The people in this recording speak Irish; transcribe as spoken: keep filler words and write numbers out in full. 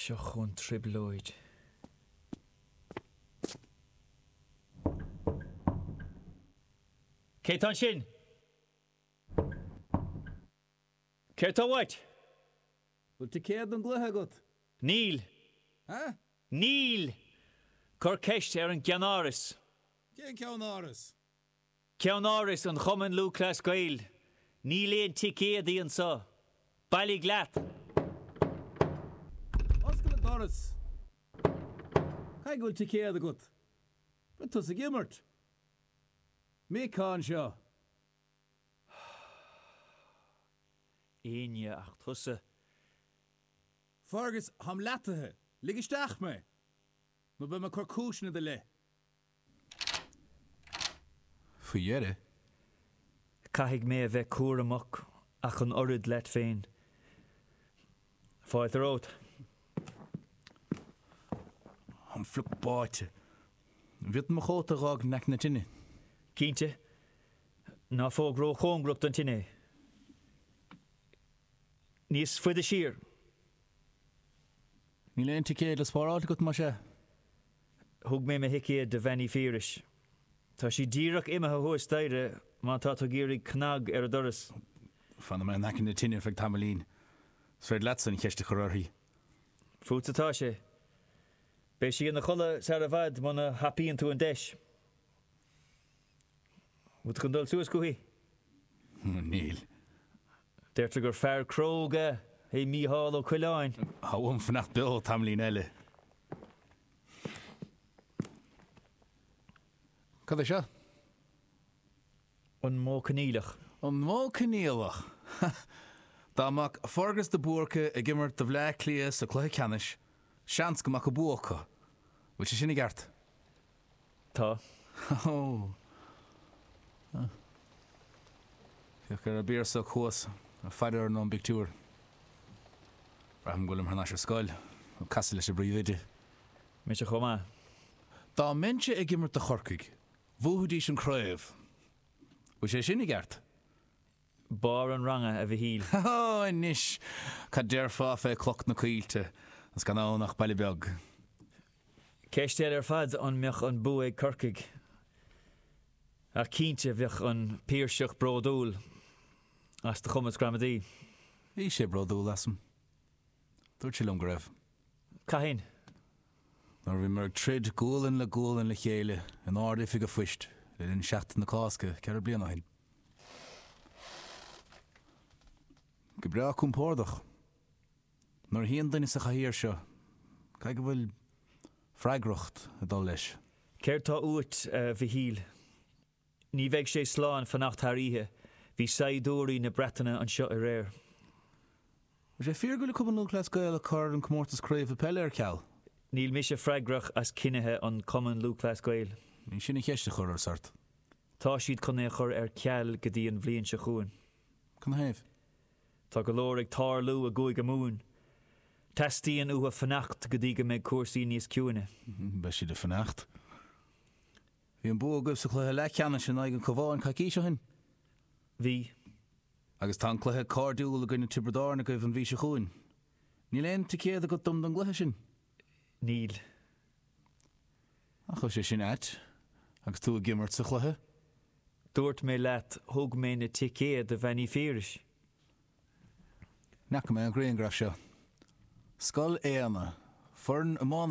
Seo chugainn trioblóid. Cé tá ansin? Céard tá uait? Bhfuil ticéad don gcluiche agat? Níl. Ha? Níl! Cuir ceist ar an gceannáras. Cén ceannáras? Ceannáras an Chumainn Lúthchleas Gael. Níl aon ticéadaí anseo. Bailigh leat! Oscail an doras! Caithfidh go bhfuil ticéad agat? Beidh tusa ag imirt! Mick anseo! Éinne ach tusa. Fergus, táim leataithe. Lig isteach mé! Nó beidh mé ag cur cúiseanna i do leith. Faoi dheireadh. Caithfidh mé a bheith cúramach ach an oiread leat féin. Fáilte romhat. Táim fliuch báite. An bhféadfainn mo chóta a dh'fhágaint in aice na tine? Cinnte. Ná fág róchóngarach don tine é. Níos faide siar. Níl aon ticéad le spáráilt agat, más ea? Thug mé mo thicéad do Bhean Uí Phiarais. Tá sí díreach imithe thuas staighre má tá tú ag iarraidh cnag ar a doras. Fanfaidh mé in aice na tine ar feadh tamaillín. Is féidir leatsa an cheist a chur uirthi. Fútsa atá sé. Beidh sí ina chodladh sar i bhfad muna thapaíonn tú an deis. Bhfuil tú chun dul suas chuici? Níl. Deirtear gur fear cróga é Mícheál Ó Coileáin. Tá uaim fanacht beo tamaillín eile. Cad é seo? An modh coinníollach. An modh coinníollach! Dá mbeadh Fergus de Búrca ag imirt do Bhleá Cliath sa chluiche ceannais, seans go mbeadh an bua acu. Bhfuil sé sin i gceart? Tá. Ó. Féach ar an bPiarsach thuas, ag faire orainn ón bpictiúr. Braithim go bhfuilim thar n-ais ar scoil, ag casadh leis an bpríomhoide. Mise chomh maith. Dá mbeinnse ag imirt do Chorcaigh, bhuafaidís an craobh. Bhfuil sé sin i gceart? Barr an ranga, a Mhichíl. Ó, anois, cad déarfá fé Cnoc na Coillte, is gan ann ach baile beag? Ceist eile ar fad an mbeadh an bua ag Corcaigh. Ach cinnte, bheadh an Piarsach bródúil as do chumas gramadaí. Bhí sé bródúil asam. Dúirt sé liom go raibh. Cathain? Nuair a bhíomar ag troid gualainn le gualainn le chéile in Ard-Oifig a' Phoist le linn Seachtain na Cásca ceithre bliana ó shin. Go breá compordach. Nuair a shuíonn duine sa chathaoir seo, caithfidh go bhfuil freagracht ag dul leis. Céard tá uait, a Mhichíl? Ní bheidh sé slán fanacht thar oíche. Bhí saighdiúirí na Breataine anseo aréir. Bhfuil sé fíor go bhfuil Cumann Lúthchleas Gael ag cur an comórtas craoibhe peile ar ceal? Níl mise freagrach as cinnithe an Chumainn Lúthchleas Gael. Ní sin an cheist a chuireas ort. Tá siad chun é a chur ar ceal go dtí an bhliain seo chugainn. Canathaobh? Tá go leor ag tarlú i gCúige Mumhan. Teastaíonn uathu fanacht go dtí go mbeidh cúrsaí níos ciúine. Beidh siad ag fanacht. Bhí an bua agaibh sa chluiche leathcheannais in aghaidh an Chabháin coicís ó shin. Bhí. Agus tá an cluiche cairdiúil i gcoinne Tiobraid Árann agaibh an mhí seo chugainn. Níl aon ticéad agat dom don gcluiche sin? Níl. Nach bhfuil sé sin ait, agus tú ag imirt sa chluiche? Dúirt mé leat, thug mé na ticéid do Bhean Uí Phiarais. Ní fhaca mé an grianghraf seo. Scoil Éanna, foireann iomána